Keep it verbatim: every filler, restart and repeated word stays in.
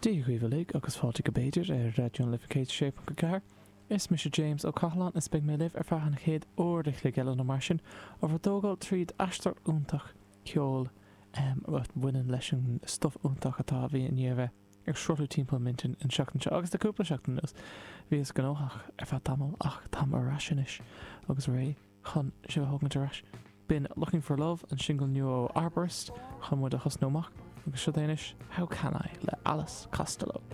Dia dhaoibh uilig agus fáilte go B'fhéidir ar Raidió na Life céad sé ponc a ceathair. Is mise James Ó Cathaláin is beidh mé libh ar feadh an chéad uair a chloig eile nó mar sin á bhur dtógáil tríd aistear iontach ceoil um, a bhaineann leis an stuif iontach atá a bhí i ndiaidh a bheith ag sruthlú timpeall m'intinn an seachtain seo agus de cúpla seachtain anuas. Bhíos gnóthach ar feadh tamall ach táim ar ais anois agus réidh chun sibh a thógaint ar ais. B'in Looking for Love an single nua ó Arborist chun muid a thosnú amach agus seo anois How Can I le Alice Costello.